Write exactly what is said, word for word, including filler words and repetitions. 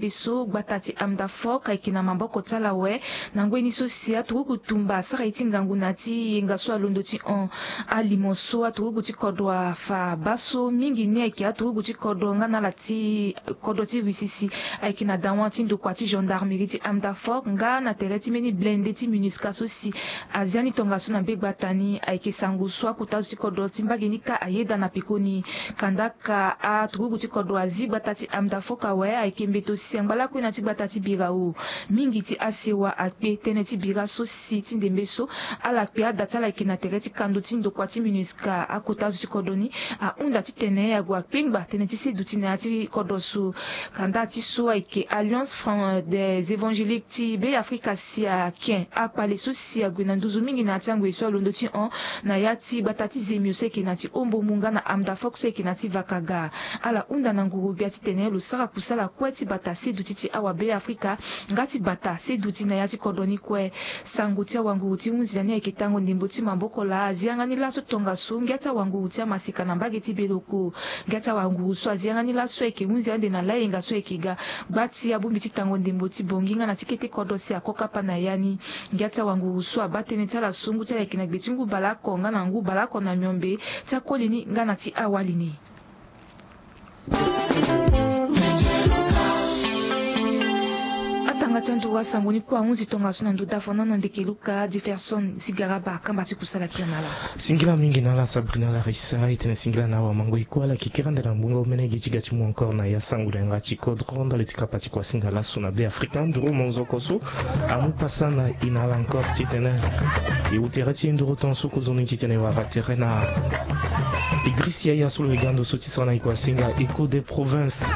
Be so gbata ti Amdafok ayeke na maboko ti ala awe. Na ngoi ni so si aturugu tumba asara ye ti ngangu na ya ti yenga so alondo ti hon alimo so aturugu ti kodro afa baa so mingi ni ayeke aturugu ti kodro nga na ala ti kodro ti Russie si ayeke na dawa ti ndokua ti gendarmerie ti Amdafok nga na tere ti mbeni blende ti MINUSCA so si azia ni tongaso na be gbata ni ayeke sango so akota zo ti kodro ti mbage ni kâ ayeda na pekoni. Kandaka aturugu ti kodro azi gbata ti Amdafok awe ayeke mbeto si angba lakue na ti gbata ti Birao. Mingi ti asewa akpe tënë ti bira so si ti ndembe so ala kpe ada ti ala ayeke na tere ti kando ti ndokua ti MINUSCA akota zo ti kodro ni ahunda titene ague akpengba tënë ti seduti na ya ti kodro so. Kanda ti so ayeke Alliance Fran- des Évangéliques ti Be Afrika si aken akpale so si ague na nduzu mingi na ya ti angoi so alondo ti hon na ya ti gbata ti Zemio so ayeke na ti Ombomu nga na Amdafok so ayeke na ti Vakaga. Ala hunda na nguru-gbia titene lo sara kusala kue ti bata seduti ti awa Be Afrika nga ti bata seduti na ya ti kodro ni kue. Sango ti awanguru ti hunzi na ni ayeke tango ndembo ti maboko laa azi yanga ni laso tongaso ngia ti awanguru ti amaseka na mbage ti Beloko. Ngia ti awanguru so azi yanga ni laso ayeke hunzi ande na layenga so ayeke ga gba ti abongbi ti tango ndembo ti Bongi nga na ti kete kodro si ako kapa na ya ni. Ngia ti awanguru so abaa tënë ti ala so ngu ti ala ayeke na gbe ti ngu baleoko nga na ngu baleoko na miombe ti akoli ni nga na ti awali ni. Atanga ti anduru asango ni kue ahunzi tongaso na ndo dafanono ndeke luka Jefferson Zigaraba kamba ti kusala kila na ala. Singila mingi na ala Sabrina Larissa, e tene singila na awa mango e kue ala yeke kiri ande na ngbonga omene ge ti ga ti mu encore na ya sango na yanga ti kodro ndali ti kapa ti kuasinga laso na Be Afrika nduru monzoko so amu pasa na e na ala encore titene e wu tere ti e nduru tongaso kozoni titene e wara tere na Idriss Yaya so lo yega ndo so ti sara na e kuasinga Echo des Provinces.